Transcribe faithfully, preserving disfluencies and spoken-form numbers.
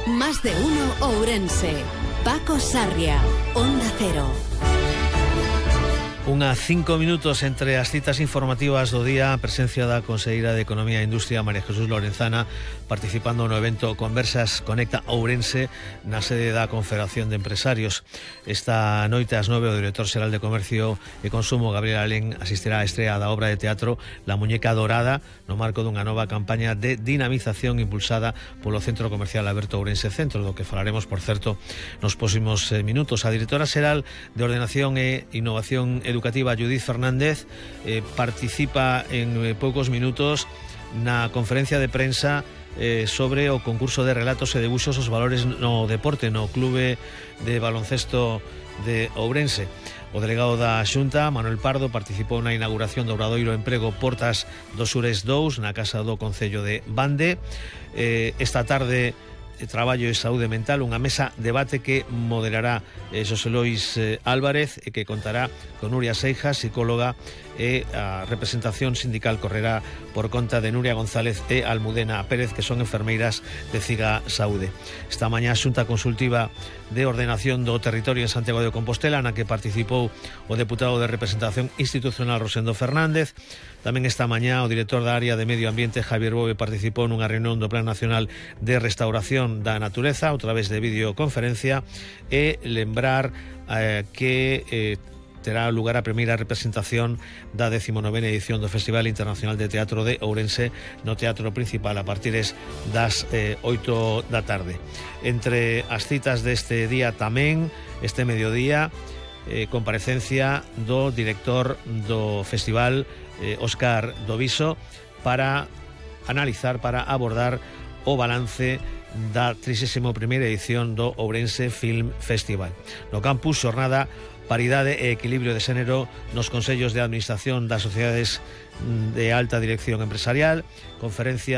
Más de uno Ourense. Paco Sarria, Onda Cero. Unha cinco minutos entre as citas informativas do día, presencia da Conselleira de Economía e Industria, María Jesús Lorenzana, participando no evento Conversas Conecta Ourense na sede da Confederación de Empresarios. Esta noite ás nove o director xeral de Comercio e Consumo, Gabriel Alén, asistirá á estrea da obra de teatro La Muñeca Dorada no marco dunha nova campaña de dinamización impulsada polo Centro Comercial Alberto Ourense Centro, do que falaremos, por certo, nos próximos minutos. A directora xeral de Ordenación e Innovación Educativa, Judith Fernández, eh, participa en eh, poucos minutos na conferencia de prensa eh, sobre o concurso de relatos e debuxos os valores no deporte no Clube de Baloncesto de Ourense. O delegado da Xunta, Manuel Pardo, participou na inauguración do Obradoiro Emprego Portas do Sures dous na Casa do Concello de Bande. Eh, esta tarde, Traballo e Saúde Mental, unha mesa debate que moderará eh, Xosé Lois eh, Álvarez e que contará con Nuria Seijas, psicóloga, e a representación sindical correrá por conta de Nuria González e Almudena Pérez, que son enfermeiras de Ciga Saúde. Esta mañá a Xunta Consultiva de Ordenación do Territorio en Santiago de Compostela, na que participou o deputado de Representación Institucional Rosendo Fernández. Tamén esta mañá o director da área de Medio Ambiente, Javier Bove, participou nunha reunión do Plan Nacional de Restauración da Natureza a través de videoconferencia, e lembrar eh, que eh, terá lugar a primeira representación da decimonovena edición do Festival Internacional de Teatro de Ourense no Teatro Principal a partir das eh, oito da tarde. Entre as citas deste día tamén, este mediodía, eh, comparecencia do director do festival, eh, Óscar Doviso, para analizar, para abordar o balance da trigésima primeira edición do Ourense Film Festival. No campus, xornada Paridade e Equilibrio de Xénero nos Consellos de Administración das Sociedades de Alta Dirección Empresarial, conferencia